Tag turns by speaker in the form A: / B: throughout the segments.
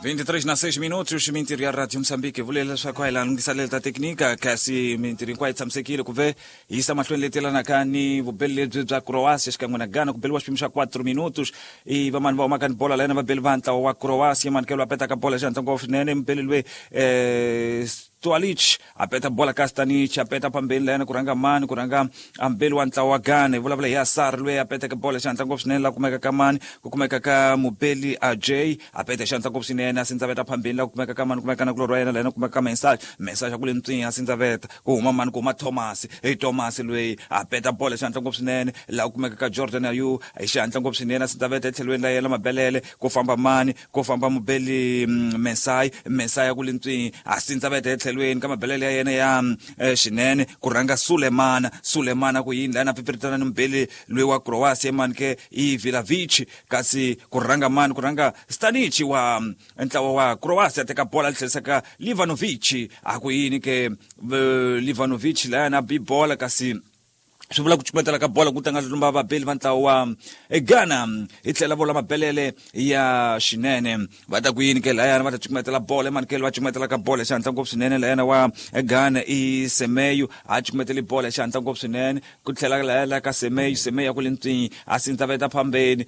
A: 23 na 6 minutos mintirho ya Radio Mozambique vule leswaku a hi laha lunghiselelo ta teknika kasi mintirho hinkwayo yi tshamisekile ku ve hi yisa mahlweni leti yelanaka ni vubeli lebyi bya Croatia xikan'we na Ghana ku beliwa xiphemu xa 4 minutos i vamani va humaka ni bola layena vabeli va ntlawa wa Croatia manikelo a petaka bola xihatla ngopfu swinene mubeli loyi Stualic a peta bola ka Stanic a peta phambeni layena ku rhanga mani ku rhanga ambeli wa ntlawa wa Ghana hi vulavula hi Asar loyi a peteke bola xihatla ngopfu swinene la kumeka ka mani ku kumeka ka mubeli Ajay a peta xihatla ngopfu swinene a sindzaveta phambeni la kumeka ka mani kumeka na kulorhi wa yena layena kumeka ka Mensah Mensah xa ku le ntswinya a sindzaveta ku huma mani ku huma Thomas hi Thomas loyi a peta bola xihatla ngopfu swinene la kumeka ka Jordan Ayew hi xihatla ngopfu swinene a sindzaveta etlhelweni la yena Mabelele ku famba mani ku famba mubeli Mensai Mensai ya ku le ntswini a sindzaveta etlhelweni ka mabelele ya yena ya xinene ku rhanga Sulemana Sulemana ku yini lana pfipfiritana ni mubeli loyi wa Croatia mani ke i Vlahovic kasi ku rhanga mani ku rhanga Stanic wa ntlawa wa Croatia teka bola li tlherisa ka Livanovic a ku yini ke Livanovic layana bi bola kasi swi vula ku cukumetela ka bola ku tlanga lumba vabeli va ntlawa wa Ghana hi tlhela vola mabelele ya xinene va ta ku yini ke layana va ta cukumetela bola emanikelo va cukumetela ka bola xihatla ngopfu swinene layana wa Ghana i Semeyo a cukumeteli bola xihatla ngopfu swinene ku tlhela laya la ka Semeyo Semeyo ya ku le ntswinyi a sindzaveta phambeni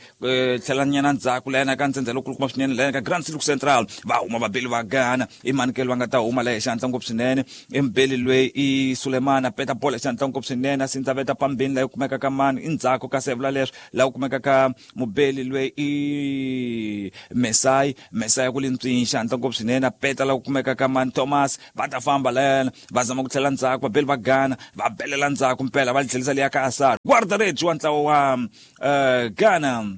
A: tlhela nyana ndzhaku layana ka ntsendze lokulukumba swinene layana ka Grand Silk Central va huma vabeli va Ghana i manikelo va nga ta huma laya xihatla ngopfu swinene embeli loyi i Sulemana peta bola xihatla ngopfu swinene a sindzaveta phambeni laha kumeka ka mani i ndzhaku ka sevula leswi laha kumeka ka mubeli loyi i Mesai Mesai ku le ntswini xihatla ngopfu swinene a peta laha kumeka ka mani Thomas va ta famba layana va zama ku tlhela ndzhaku vabeli va Ghana va belela ndzhaku mpela va tlhelisa liya ka Asar guarda-redes wa ntlawa wa Ghana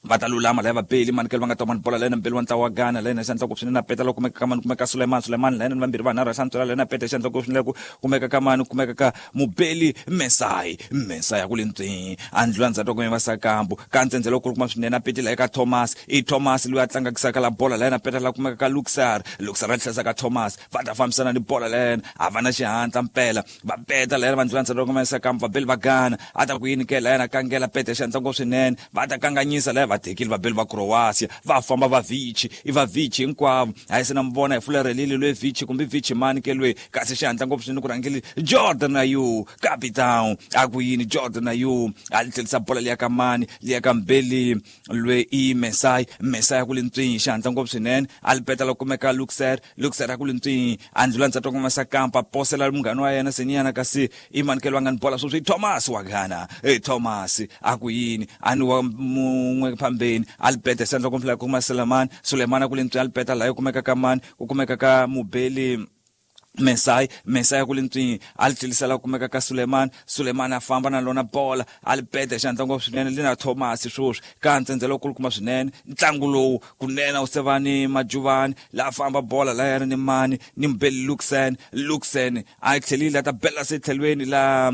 A: va ta lulama laya vabeli manikelo va nga ta mani bola layena mbeli wa ntlawa wa Ghana layena xandla ku swinene na peta loko kumeka ka mani kumeka Suleiman Suleiman layena ni vambirhi vanharhu xantswela layena peta xandla ku swinene ku kumeka ka mani kumeka ka mubeli Mesai Mesai ku le ntswini a ndlula ndzhaku ku va sakambu ka ntsendze loko kuma swinene a peti la eka Thomas i Thomas loyi a tlangakisaka la bola layena peta la kumeka ka Luxar Luxar a tlherisa ka Thomas va ta fambisana ni bola layena a va na xihatla mpela va peta layena va ndlula ndzhaku kuma sakambu vabeli va Ghana a ta ku yini ke layena kangela peta xandla ngopfu swinene va ta kanganyisa laya va tekile vabeli va Croatia va famba va Vici i va Vici hinkwavo a yi se na mi vona hi fulerhelile loyi Vici kumbe Vici mani ke loyi kasi xihatla ngopfu swinene ku rhangile Jordan Ayew capitão a ku yini Jordan Ayew a tlhelisa bola liya ka mani liya ka mbeli loyi i Mesai Mesai ku le ntswini xihatla ngopfu swinene a li peta la kumeka Luxer Luxer a ku le ntswini a ndlula ndzhaku kuma Sakampa posela munghana wa yena Seniyana kasi i manikelo a nga ni bola sweswi Thomas wa Ghana e Thomas a ku yini a ni wa mun'we phambeni a li peta xandla kumfula kuma Suleiman Suleiman a ku le ntswini a li peta laha kumeka ka mani ku kumeka ka mubeli Mesai Mesai ku le ntswini a li tlhelisela ku kumeka ka Suleiman Suleiman a famba na lona bola a li peta xandla ngopfu swinene li na Thomas sweswi ka ntsendze lowukulukumba swinene ntlangu lowu kunene wu se va ni majuvani la famba bola la yana ni mani ni mubeli Luxen Luxen a tlhelile a ta bela se tlhelweni la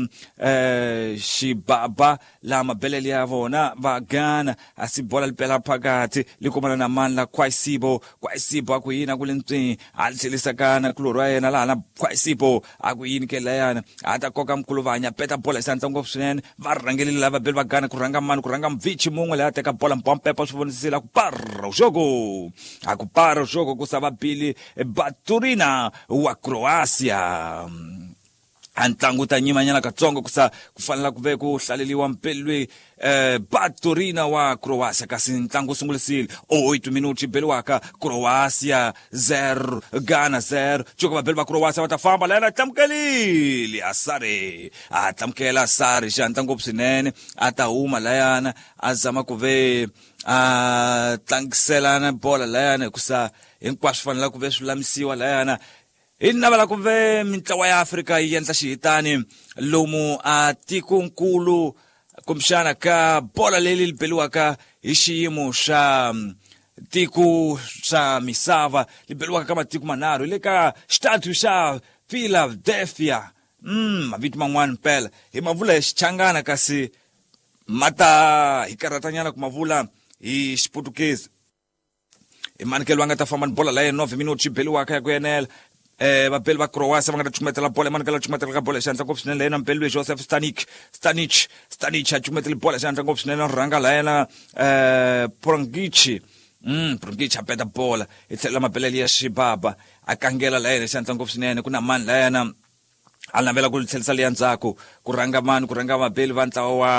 A: xibaba la mabelele ya vona va Ghana a si bola li pela phakathi li kumana na mani la Kwaisibo Kwaisibo a ku yini a ku le ntswini a li tlhelisa kana kulorhi wa yena laha na Kwaisibo a ku yini ke layana a ta koka mkuluvanya peta bola xandla ngopfu swinene va rhangelile lava beli va Ghana ku rhanga mani ku rhanga mvichi mun'we leyi a teka bola mpompepa swi vonisile a ku para jogo a ku para jogo ku sava Billy Baturina wa Croatia a ntlangu ta nyimanyana katsongo ku sa ku fanela ku ve ku hlaleliwa mpeli loyi Baturina wa Croatia kasi ntlangu wu sungulisile 8 minuti beliwaka Croatia 0 Ghana 0 cuka vabeli va Croatia va ta famba layena tlamukelile Asare a tlamukela Asare xihatla ngopfu swinene a ta huma layana a zama ku ve a tlangiselana bola layana hikusa hinkwaswo fanela ku ve swi lulamisiwa layana hi navela ku ve mintlawa ya Afrika yi endla xihitani lomu a tikonkulu kumbexana ka bola leyi li beliwaka hi xiyimo xa tiko xa misava li beliwaka ka matiko manharhu hi le ka xitatu xa Philadelphia mavito man'wana mpela hi ma vula hi Xichangana kasi ma ta hi karhatanyana ku ma vula hi Xiputukezi i manikelo va nga ta famba ni bola la yena 9 minuti xi beliwaka ya ku enela vabeli va Croatia va nga ta cukumetela bola emanikelo a cukumetela ka bola xandla ngopfu swinene la yena mubeli loyi Joseph Stanic Stanic Stanic a cukumetele bola xandla ngopfu swinene rhanga la yena Prangic Brunkic a peta bola hi tlhelo la mabelele ya xibaba a kangela la yena xandla ngopfu swinene ku na mani la yena a navela ku tlherisa liya ndzhaku ku rhanga mani ku rhanga vabeli va ntlawa wa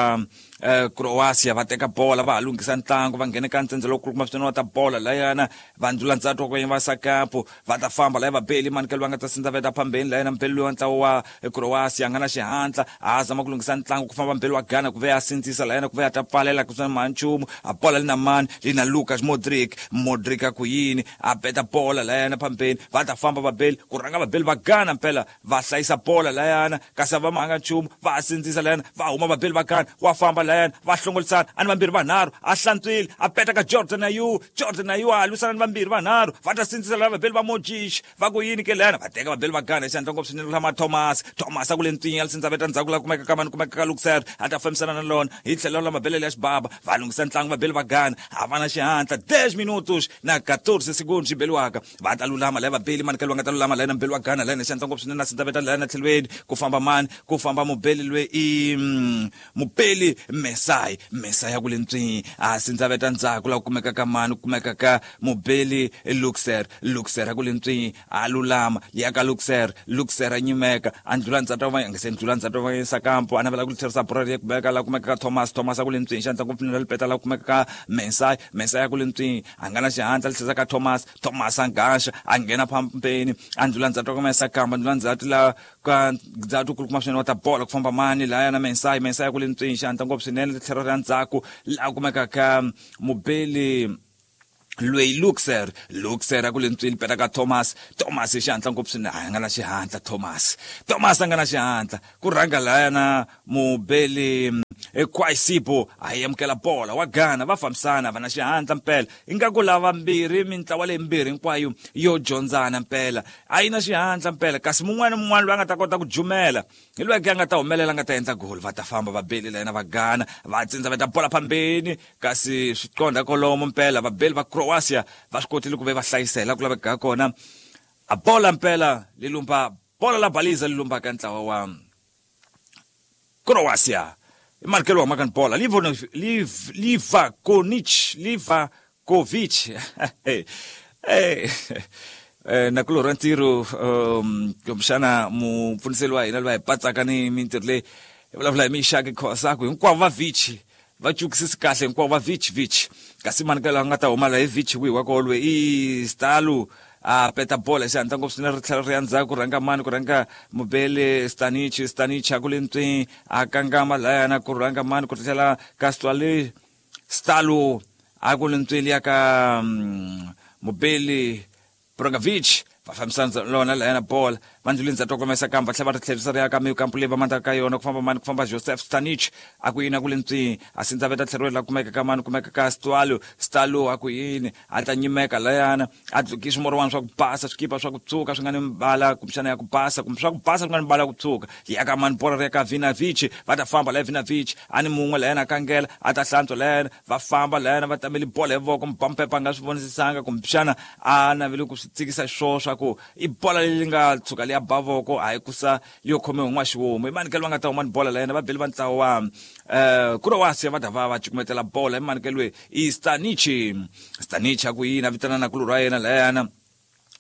A: Croatia va teka bola va ha lunghisa ntlangu va nghena ka ntsendze lowu kulukumba swinene wa ta bola layana va ndlula ndzhaku wa ku va sakapu va ta famba laya vabeli mani ke loyi a nga ta sindza veta phambeni layena mubeli loyi wa ntlawa wa Croatia a nga na xihatla a zama ku lunghisa ntlangu ku famba mubeli wa Ghana ku ve a sindzisa layena ku ve a ta pfalela ku swi mani nchumu a bola li na mani li na Lucas Modric Modric a ku yini a beta bola layana phambeni va ta famba vabeli ku rhanga vabeli va Ghana mpela va hlayisa bola layana kasi a va manga nchumu va ha sindzisa layana va huma vabeli va Ghana wa famba layana va hlongolisana a ni vambirhi vanharhu a hlantswile a peta ka Jordan Ayew Jordan Ayew a lwisana ni vambirhi vanharhu va ta sindzisa laya vabeli va Modric va ku yini ke layana va teka vabeli va Ghana hi xihatla ngopfu swinene lama Thomas Thomas a ku le ntswinya li veta ndzhaku la kumeka ka mani kumeka ka Luxer a ta fambisana na lona hi tlhelo la mabelele ya xibaba va lunghisa ntlangu vabeli va Ghana a va na xihatla 10 minutos na 14 segundos xi beliwaka va ta lulama laya vabeli mani ke loyi a nga ta lulama layena mubeli wa Ghana layena xihatla ngopfu swinene na sindzaveta layena tlhelweni ku famba mani ku famba mubeli loyi i mubeli Mesai Mesai ya ku le ntswini a sindzaveta ndzhaku la ku kumeka ka mani ku kumeka ka mubeli Luxer Luxer a ku le ntswini a lulama ya ka Luxer Luxer a nyimeka a ndlula ndzhaku va nga se ndlula ndzhaku va yisa kampo a navela ku tlherisa bora ya kumeka la kumeka ka Thomas Thomas a ku le ntswini xihatla ngopfu swinene lipeta la kumeka ka Mesai Mesai ya ku le ntswini a nga na xihatla li tlherisa ka Thomas Thomas a ngaxa a nghena phambeni a ndlula ndzhaku ka Mesa kamba ndlula ndzhaku la ka ndzhaku kulukumba swinene wa ta bola ku famba mani laya na Mesai Mesai ya ku le ntswini xihatla ngopfu swinene tlhelo ra ndzhaku la kumeka ka mubeli loyi Luxer Luxer a ku le ntswini peta ka Thomas Thomas hi xihatla ngopfu swinene a nga na xihatla Thomas Thomas a nga na xihatla ku rhanga laya na mubeli Kwaisibo a yi amukela bola wa Ghana va fambisana va na xihatla mpela ingaku lava mbirhi mintlawa leyi mbirhi hinkwayo yo dyondzana mpela a yi na xihatla mpela kasi mun'wana ni mun'wana loyi a nga ta kota ku jumela hi loyi ke a nga ta humelela a nga ta endla goli va ta famba va beli la yena va Ghana va tsindza va ta bola phambeni kasi swi qondha kolomo mpela vabeli va Croatia va swi kotile ku ve va hlayisela ku laveka kona a bola mpela li lumba bola la baliza li lumba ka ntlawa wa Croatia i markelo wa makani bola Livakovic Livakovic nakulorhi wa ntirho kumbexana mupfuniseli wa hina loyi hi patsaka ni mintirho leyi hi vulavula hi Mixaki Khosa ku hinkwavo va Vici va cukisisi kahle hinkwavo va Vici Vici kasi mani ka laha nga ta huma la hi Vici wihi wa kolwe i Stalo a peta bola xihatla ngopfu swinene ri tlhela ri ya ndzhaku ku rhanga mani ku rhanga mubeli Stanic Stanic a ku le ntswini a kangama layana ku rhanga mani ku tlhela ka Stalo Stalo a ku le ntswini ya ka mubeli Brozovic va fambisana lona layana bola va ndluleni ndzhaku komesa kamba tlhela va ri tlherisa ri ya ka mikampu leyi va mandaka ka yona ku famba mani ku famba Joseph Stanic a ku yini a ku le ntswini a sindza veta tlheriwe la kumeka ka mani kumeka ka Stalo Stalo a ku yini a ta nyimeka layana a dlukisa swimorwana swa ku basa swikipa swa ku tshuka swi nga ni mbala kumbexana ya ku basa kumbe swa ku basa swi nga ni mbala ya ku tshuka ya ka mani bola ri ya ka Vinavic va ta famba laya Vinavic a ni mun'we layana a kangela a ta hlantswa layana va famba layana va tamele bola hi voko mubampepa a nga swi vonisisanga kumbexana a navele ku swi tsikisa swo swa ku i bola leyi nga tshuka liya ba voko hayi kusa yo khomiwa hi n'waxihomu i mani ke loyi a nga ta huma ni bola la yena va beli va ntlawa wa Croatia va ta va va cukumetela bola i mani ke loyi i Stanic Stanic a ku yini a vitana nakulorhi wa yena layana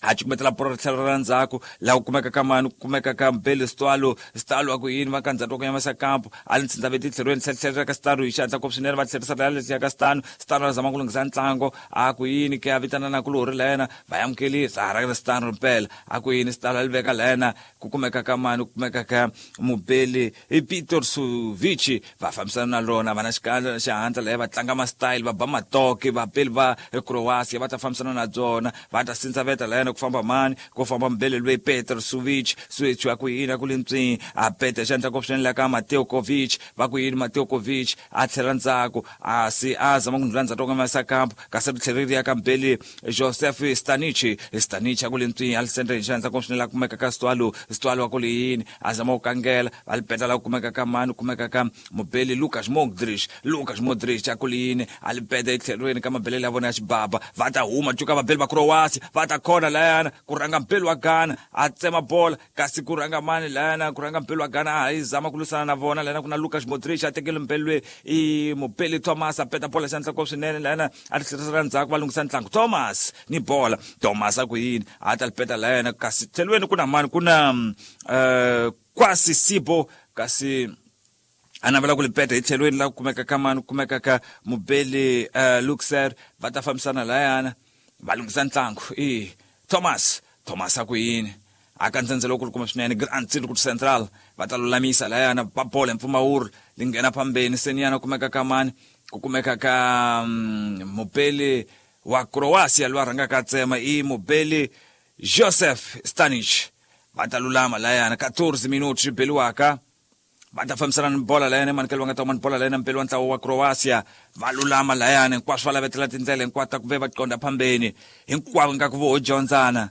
A: a cukumetela bolo ri tlhela ra ndzhaku laha ku kumeka ka mani ku kumeka ka mbele Stalo Stalo a ku yini va ka ndzhaku wa ku yamasa kampo a li ntsindza veti tlhelweni tlhela ka Stalo hi xihatla ngopfu swinene va tlherisa la letiya ka Stano Stano a zama ku lunghisa ntlango a ku yini ke a vitana nakulorhi la yena va amukelisa a ra Stano mpela a ku yini Stalo a li veka la yena ku kumeka ka mani ku kumeka ka mubeli i Peter Suvici va fambisana na lona va na xikandza na xihatla laya va tlanga ma-style va ba matoke vabeli va Croatia va ta fambisana na byona va ta sindzaveta layana ku famba mani ku famba mubeli loyi Peter Suvic Suvic a ku yini a ku le ntswini a peta xandla ko swinene la ka Mateo Kovic va ku yini Mateo Kovic a tlhela ndzhaku a si a zama ku ndlula ndzhaku ka masa kampo kasi ri tlhela ri ya ka mubeli Joseph Stanic Stanic a ku le ntswini a li sendre hi xandla ko swinene la kumeka ka Stwalo Stwalo a ku le yini a zama ku kangela va li peta la ku kumeka ka mani ku kumeka ka mubeli Lucas Modric Lucas Modric a ku le yini a li peta etlhelweni ka mabelele ya vona ya xibaba va ta huma cuka vabeli va Croatia va ta khona la layana ku rhanga mpeli wa Ghana a tsema bola kasi ku rhanga mani layana ku rhanga mpeli wa Ghana a yi zama ku lwisana na vona layana ku na Lucas Modric a tekele mpeli loyi i mupeli Thomas a peta bola xandla ko swinene layana a ri tlherisela ndzhaku va lunghisa ntlangu Thomas ni bola Thomas a ku yini a ta li peta layana kasi tlhelweni ku na mani ku na Kwasi Sibo kasi a navela ku li peta hi tlhelweni la ku kumeka ka mani ku kumeka ka mubeli Luxer va ta fambisana layana va lunghisa ntlangu i Thomas Thomas a ku yini a ka ndzhendzelo wu kulukumba swinene Grand Circuit Central va ta lulamisa layana ba bola hi mpfumawulo li nghena phambeni seniyana kumeka ka mani ku kumeka ka mubeli wa Croatia loyi a rhangaka a tsema i mubeli Joseph Stanic va ta lulama layana 14 minuti swi beliwaka va ta fambisana ni bola layani emanikelo va nga ta huma ni bola layani mpeli wa ntlawa wa Croatia va lulama layani hinkwaswo va lavetela tindlela hinkwato ta ku ve va qonda phambeni hinkwavo ingaku vo ho dyondzana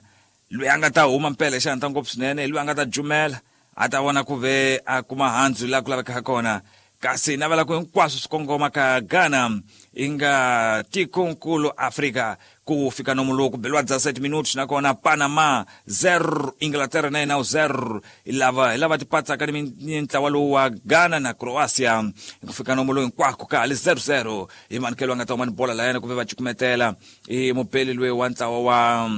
A: loyi a nga ta huma mpela hi xihatla ngopfu swinene hi loyi a nga ta jumela a ta vona ku ve a kuma handzu laha ku lavekaka kona kasi navela ku hinkwaswo swi kongoma ka Ghana yi nga tikonkulu Afrika ku fika nomu lowu ku beliwa 17 minutos nakona Panama 0 Inglaterra na yena 0 hi lava hi lava tipatsaka ni ntlawa lowu wa Ghana na Croatia ku fika nomu lowu hinkwako ka ha li 0-0 hi manikelo a nga ta huma ni bola layana ku ve va cukumetela i mupeli loyi wa ntlawa wa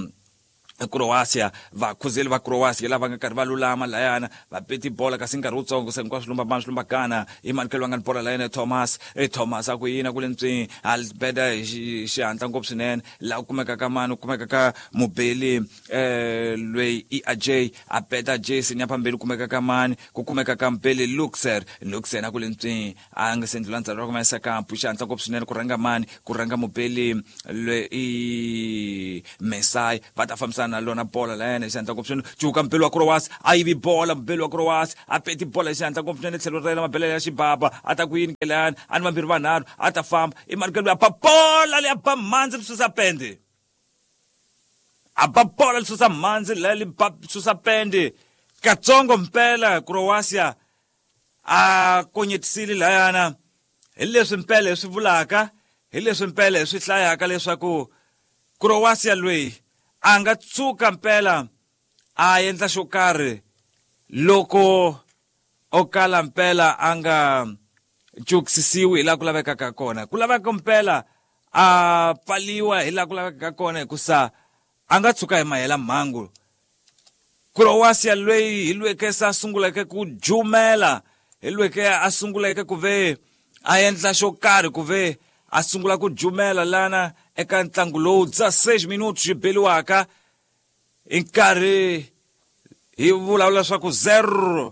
A: Croatia vakhuzeli va Croatia lava nga karhi va lulama layana va peti bola kasi nkarhi wutsongo se hinkwaswo lumba mani swi lumba Ghana i manikelo va nga ni bola layana Thomas e Thomas a ku yini ku le ntswini a beda hi xihatla ngopfu swinene laha ku kumeka ka mani ku kumeka ka mubeli loyi i Ajay a beda Jason ya phambili ku kumeka ka mani ku kumeka ka mubeli Luxer Luxer a ku le ntswini a nga se ndlula ndzhaku ra kuma kampu xihatla ngopfu swinene ku rhanga mani ku rhanga mubeli loyi i Mesai va ta fambisana na lona bola layena hi xihatla ngopfu swinene cuka mubeli wa Croatia a yivi bola mubeli wa Croatia a peti bola hi xihatla ngopfu swinene tlhelo ra yena mabelele ya xibaba a ta ku yini ke layani a ni vambirhi vanharhu a ta famba i mani ke loyi a ba bola leyi a ba mhandzi ri susa pende a ba bola li susa mhandzi leyi li ba susa pende katsongo mpela Croatia a konyetisile layana hi leswi mpela hi swi vulaka hi leswi mpela hi swi hlayaka leswaku Croatia loyi a nga tshuka mpela a endla xo karhi loko o kala mpela a nga cukisisiwi hi laha ku lavekaka kona ku laveka mpela a pfaliwa hi laha ku lavekaka kona hikusa a nga tshuka hi mahela mhangu Croatia loyi hi lweke se a sunguleke ku jumela hi lweke a sunguleke ku ve a endla xo karhi ku ve a sungula ku jumela lana eka ntlangu lowu dza 6 minutos xi beliwaka hi nkarhi hi vulavula swa ku 0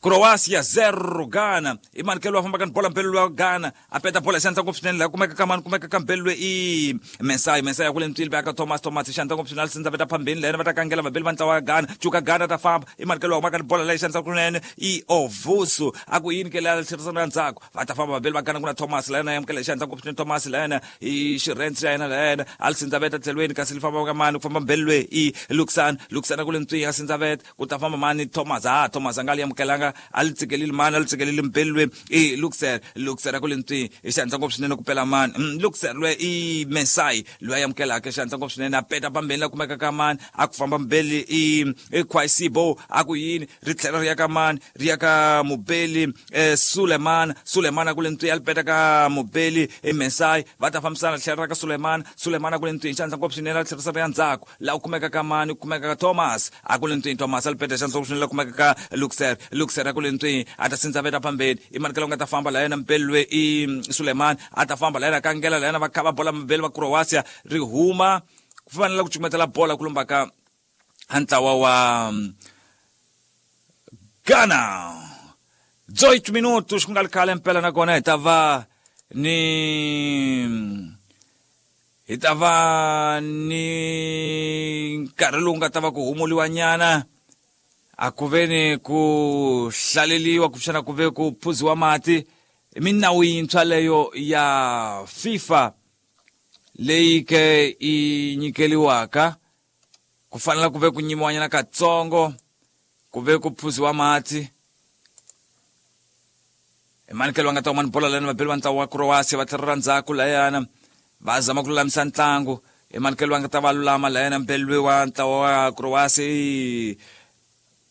A: Croatia 0 Ghana i manikelo wa fambaka ni bola mpelo wa Ghana a peta bola xandla ngopfu swinene laha kumeka ka mani kumeka ka mpelo i Mensai Mensai ya kule ntswili va ka Thomas Thomas xandla ngopfu swinene sindza veta phambeni lena va ta kangela vabeli va ntlawa wa Ghana cuka Ghana ta famba i manikelo wa humaka ni bola leyi xandla kunene i Ovusu a ku yini ke leya tlherisana ndzhaku va ta famba vabeli va Ghana ku na Thomas la yena yamukela xandla ngopfu swinene Thomas la yena i xirhensi xa yena la yena a li sindza veta tlhelweni kasi li famba ka mani ku famba mbeli loyi i Luxan Luxan a kule ntswini a sindza veta ku ta famba mani Thomas ha Thomas a nga li amukelanga a li tsikeleli mani a li tsikeleli mbeli loyi i Luxer Luxer a ku le ntswini i xihatla ngopfu swinene ku pela mani Luxer loyi i Mesai loyi a amukelaka xihatla ngopfu swinene a peta pambeni la kumeka ka mani a ku famba mbeli i i Khwaisibo a ku yini ri tlhela ri ya ka mani ri ya ka mubeli Suleman Suleman a ku le ntswini a li peta ka mubeli i Mesai va ta fambisana tlhela ra ka Suleman Suleman a ku le ntswini xihatla ngopfu swinene a tlherisa ri ya ndzhaku laha ku kumeka ka mani ku kumeka ka Thomas a ku le ntswini Thomas a li peta xandla swinene la kumeka ka Luxer Luxer a ku le ntswini a ta sindza veta phambeni i mani ka nga ta famba la yena mpeli loyi i Suleiman a ta famba la yena kangela la yena va kha va bola mabeli va Croatia ri huma ku fanele ku cumetela bola ku lumba ka ntlawa wa Ghana 18 minutos ku nga ri khale mpela nakona hi ta va ni hi ta va ni nkarhi lowu nga ta va ku humuliwa nyana a ku ve ni ku hlaleliwa kumbexana ku ve ku phuziwa mati minawu yintshwa leyo ya FIFA leyi ke i nyikeliwaka ku fanela ku ve ku nyimiwanyana katsongo ku ve ku phuziwa mati emanikelo va nga ta huma ni bola lani vabeli va ntlawa wa Croatia va tlhelela ndzhaku layana va zama ku lulamisa ntlangu I manikelo va nga ta va lulama la yena mbelwe wa ntlawa wa Croatia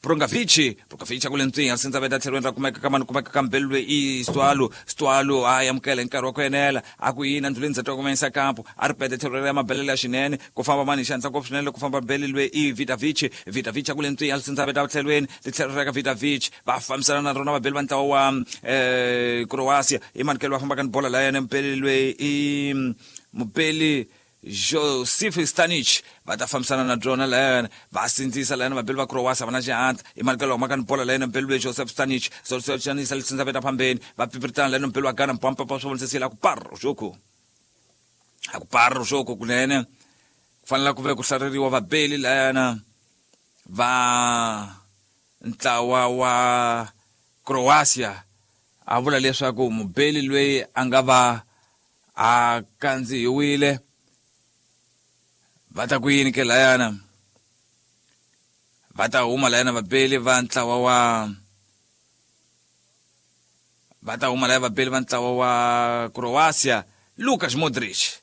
A: Prungavici Prungavici a ku le ntswinya sindza veta tlhelweni ra kumeka ka mani kumeka ka mbelwe i Stwalo Stwalo a amukela hi nkarhi wa ku enela a ku yini andluleni ndzati wa kumanyisa kampo a ri pete tlhelo ra mabelele ya xinene ku famba mani hi xihatla ngopfu swinene ku famba mbelwe i Vitavici Vitavici a ku le ntswinya sindza veta tlhelweni litlhelo ra ka Vitavici va fambisana na rona vabeli va ntlawa wa Croatia i manikelo va fambaka ni bola la yena mbelwe i mubeli Josip Stanich va ta fambisana na byona layana va sindzisa layana vabeli va Croatia va na xihatla i manikelo humaka ni bola layana mbeli loyi Joseph Stanich Stanich lisindza veta phambeni va pfipfiritana layana mbeli wa Ghana mpampapa swi vonisisile a ku parro xoku a ku parro xoku kunene ku fanele ku ve ku hlareriwa vabeli layana va ntlawa wa Croatia a vula leswaku mubeli loyi a nga va a kandzihiwile va ta ku yini ke layana va ta huma layana vabeli va ntlawa wa va ta huma laya vabeli va ntlawa wa Croatia Luka Modric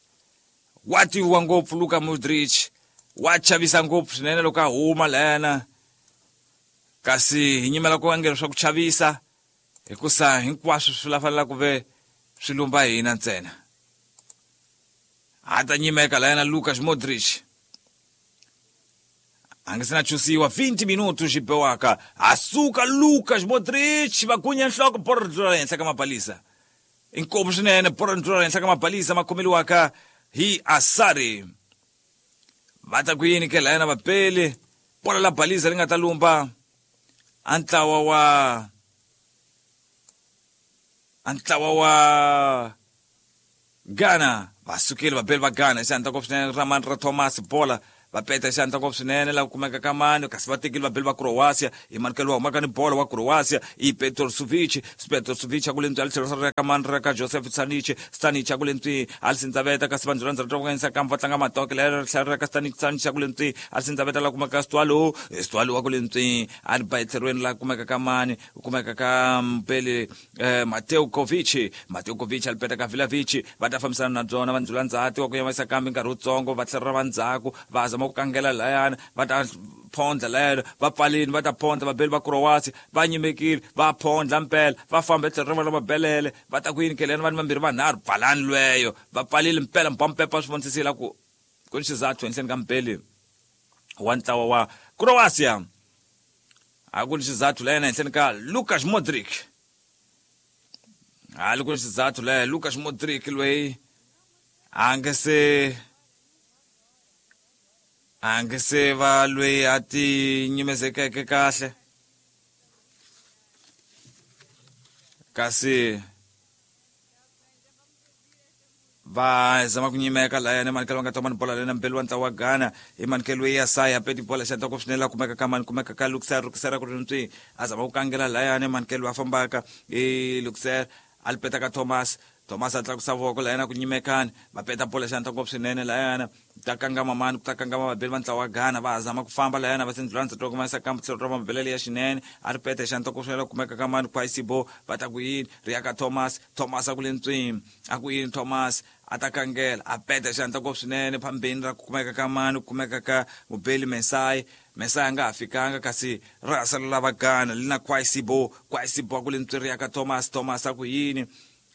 A: wa tiviwa ngopfu Luka Modric wa chavisa ngopfu swinene loko a huma layana kasi hi nyimela ku angela swa ku chavisa hikusa hinkwaswo swi la fanela ku ve swi lumba hina ntsena a ta nyimeka layana Luka Modric a nga se na chusiwa 20 minuto xi bewaka a suka Luka Modric va gunya nhloko bolo ri tlula henhla ka mabalisa inkomu swinene bolo ri tlula henhla ka mabalisa ma khomeliwaka hi Asari va ta ku yini ke layana vapeli bolo la balisa ri nga ta lumba a ntlawa wa a ntlawa wa Ghana va sukile vabeli va Ghana xandla ngopfu swinene ra mani ra Thomas bola va peta xandla ngopfu swinene la kumeka ka mani kasi va tekile vabeli va Croatia i manikelo wa humaka ni bolo wa Croatia i Petrovic Petrovic a ku le ntswi a litlhelo ra ka mani ra ka Joseph Stanic Stanic a ku le ntswi a li sindzaveta kasi vanhu rhandza ra vanganyisa kambe va tlanga matoke lera tlhelo ra ka Stanic Stanic a ku le ntswi a li sindzaveta la kumeka Stwalo Stwalo wa ku le ntswi a ri ba etlhelweni la kumeka ka mani kumeka ka Mpele Mateo Kovic Mateo Kovic a li peta ka Vlahovic va ta fambisana na byona va ndzula ndzhati wa ku yavanyisa kambe nkarhi wutsongo va tlhelela va ndzhaku va zama ku kangela layana va ta phondla layana va pfalini va ta phondla vabeli va Croatia va nyimekile va phondla mpela va famba etlhelo ra vona mabelele va ta ku yini keleni vanhu vambirhi vanharhu pfalani lweyo va pfalile mpela mpampepa swi vonisisile ku ku ni xizathu henhleni ka mpeli wa ntlawa wa Croatia a ku ni xizathu la yena henhleni ka Luka Modric a li ku ni xizathu la yena Luka Modric loyi a nge se va loyi a ti nyimezekeke kahle kasi va zama ku nyimeka layani manikelo va nga toma ni bola lena mbeli wa ntlawa wa Ghana i manikelo ya saya peti bola xandla ku swinene la kumeka ka mani kumeka ka Luxer Luxer ku ri ntswi a zama ku kangela layani manikelo a fambaka i Luxer a li peta ka Thomas Thomas a tlakusa voko layana ku nyimekani va peta bola xandla ngopfu swinene layana ta kangama mani ku ta kangama vabeli va ntlawa wa Ghana va ha zama ku famba layana va sindlulana twa kumesa kambe tlhelo ra mabelele ya xinene a ri peta xandla ku swinene kumeka ka mani Kwasibo va ta ku yini ri ya ka Thomas Thomas a ku le ntswini a ku yini Thomas a ta kangela a peta xandla ngopfu swinene phambeni ra ku kumeka ka mani ku kumeka ka mubeli Mesai Mesai a nga ha fikanga kasi ra ha salela va Ghana li na Kwasibo Kwasibo a ku le ntswini ri ya ka Thomas Thomas a ku yini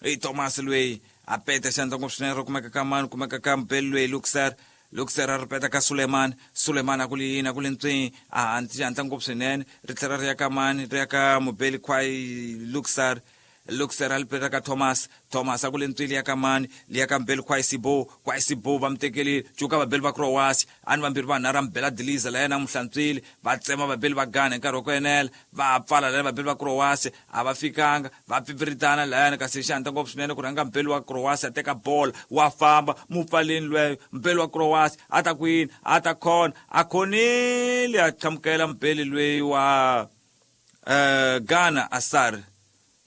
A: i Thomas loyi a peta xandla ngopfu swinene ro kumeka ka mani kumeka ka mubeli loyi Luxer Luxer a ri peta ka Suleiman Suleiman a ku li yini a ku li ntswini a xihatla ngopfu swinene ri tlhela ri ya ka mani ri ya ka mubeli Kwai Luxer Luxer a li peta ka Thomas Thomas a ku le ntswini ya ka mani liya ka mubeli Kwasibo Kwasibo va mu tekelile cuka vabeli va Croatia a ni vambirhi vanharhu a mubela Diliza la yena a mu hlantswile va tsema vabeli va Ghana hi nkarhi wa ku enela va pfala layani vabeli va Croatia a va fikanga va pfipfiritana layani kasi xihatla ngopfu swinene ku rhanga mubeli wa Croatia a teka bola wa famba mupfaleni lweyo mubeli wa Croatia a ta ku yini a ta khona a khonile a qhamukela mubeli loyi wa Ghana Asar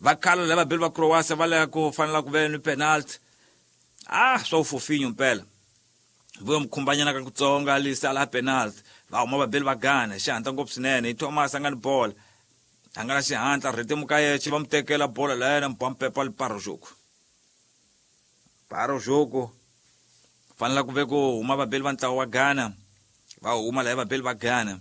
A: va khala lava vabeli va Croatia va lava ku fanela ku ve ni penalty ah swa ufofinyo mpela vuyo mukhumbanyana ka kutsonga lisa la penalty va huma vabeli va Ghana xihatla ngopfu swinene hi Thomas a nga ni bola a nga na xihatla rhetimuka yexe va mu tekela bola la yena mpampepa li paro joku paro joku Fanela ku ve ku huma vabeli va ntlawa wa Ghana, va huma laha vabeli va Ghana.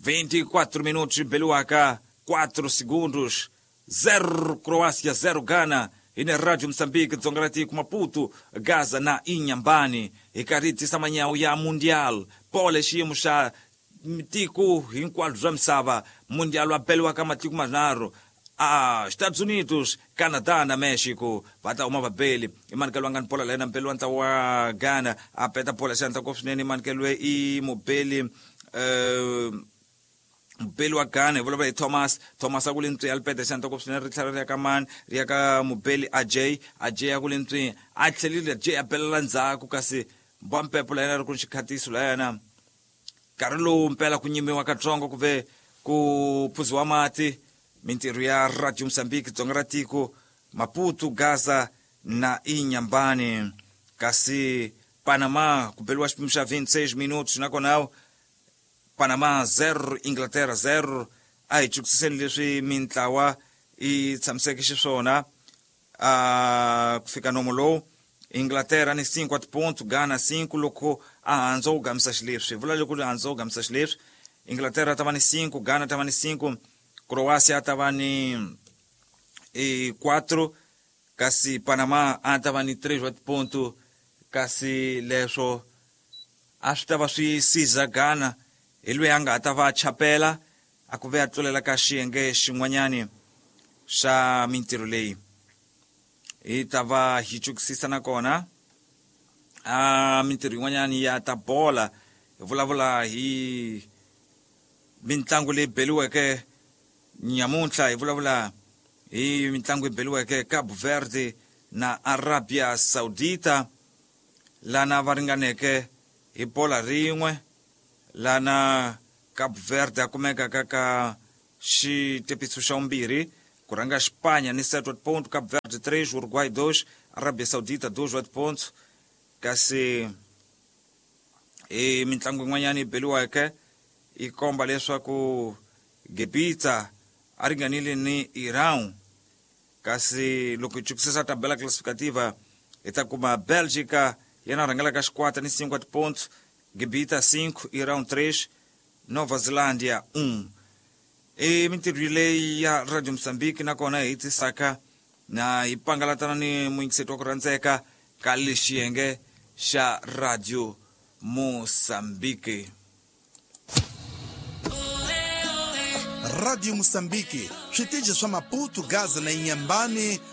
A: 24 minutos beliwaka 4 segundos, 0 Croácia 0 Ghana. Ine Radio Moçambique, dzonga ra tiko, Maputo, Gaza na Inhambane. Hi karhi hi tisa manyawu ya Mundial pole xiyimo xa tiko hinkwalo bya misava. Mundial wa beliwaka matiko manharhu, a Estados Unidos, Canadá na Mexico. Va ta huma vabeli. I manikelo wa nga ni bola la yena mbeli wa ntlawa wa Ghana, a peta bola xandla ngopfu swinene. I manikelo i mubeli, mubeli wa Ghana, hi vulavula hi Thomas. Thomas a ku le ntswi, a li peta xandla ngopfu swinene, ri tlhela ri ya ka mani? Ri ya ka mubeli Ajay. Ajay a ku le ntswi, a tlhelile Ajay, a belela ndzhaku, kasi mbwampepo la yena ri ku ni xikhatiso la yena. Nkarhi lowu mpela ku nyimiwa katsongo, ku ve ku phuziwa mati. Mintirho ya Radio Mozambique, dzonga ra tiko, Maputo, Gaza na Inhambane. Kasi Panama, ku beliwa xipimo xa 26 minutos, nakona Panama 0, Inglaterra 0. A hi chukisiseni leswi mintlawa yi tshamiseke xiswona a ku fika nomo lowu. Inglaterra ni 5 wa tiponto, Ghana 5. Loko a handza wu gamisa xileswi, vula loko handza wu gamisa xileswi, Inglaterra ta va ni 5, Ghana ta va ni 5, Croácia ta va ni 4, kasi Panama a ta va ni 3 wa tiponto. Kasi leswo a swi ta va swi siza Ghana hi loyi a nga ta va chapela a ku ve a tlulela ka xiyenge xin'wanyani xa mintirho leyi. Hi ta va hi chukisisa nakona a mintirho yin'wanyani ya ta bola. Hi vulavula hi mitlangu leyi beliweke nyamuntlha, hi vulavula hi mitlangu yi beliweke Cabo Verde na Arabia Saudita, lana va ringaneke hi bola rin'we, lana Cabo Verde a kumeka ka ka xitepiso xa vumbirhi. Ku rhanga Xipanya ni 7 wa tiponto, Cabo Verde 3, Uruguay 2, Arabia Saudita 2 wa tiponto. Kasi i mitlangu yin'wanyana yi beliweke yi komba leswaku Gibita a ringanile ni Iran. Kasi loko hi chukisisa tabela classificativa, hi ta kuma Belgica yena rhangelaka xikwata ni 5 wa tiponto, Gibita 5, Iran 3, Nova Zelandia 1. I mintirho leyi ya Radio Mozambique, nakona hi tisaka na hi pangalatana ni muyingiseti wa ku rhandzeka ka lexiyenge xa Radio Mozambique.
B: Radio Moçambique, switichi swa Maputo, Gaza na Inhambane.